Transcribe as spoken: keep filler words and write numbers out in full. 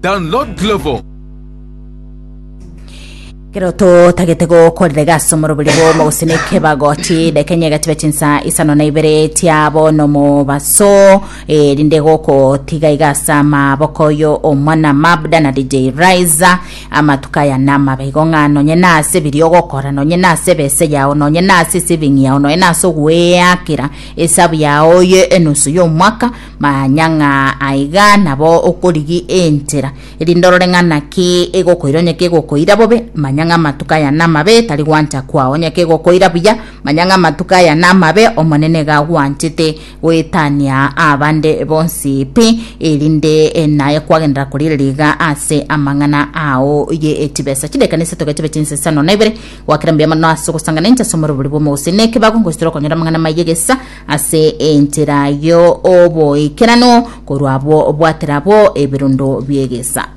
Download Glovo. Kero totagete gokorera egasi omorobori bwomo gose na ekebagoti dakika enye egatiba chinsa isano na ibere tiabo nomobaso eh, rinde gokotiga iga ase amaboko yo omwana Mabda na D J Riser. Amatuko aya namabe igo ng'a nonye nase biri ogokora, nonye nase ebese yao, nonye nase esaving yao, nonye nase ogweakera esabu yao ye enusu ya omwaka, manya ng'a aiga nabo okorigi enchera erinde orore ng'a naki egokoira. Onye kegokoira bobe, manya ng'a amatuko aya namabe, tari gwancha kwao. Onye kegokoira buya, manya ng'a amatuko aya namabe, omonene gagwanchete goetania abande bonsi pi, erinde eh, naye kwagendera korigereria iga ase amang'ana ao ye etibesa. Chideka nisato gachibe chinsa isano na ibere. Gwakera mbuya mono ase ogosangana inche ase omorobori bwa omogusii nekebago ngositera okonyora amang'ana maye gesa ase enchera yo oboikerano korwa abwo obwatera abwo ebirundo biegesa.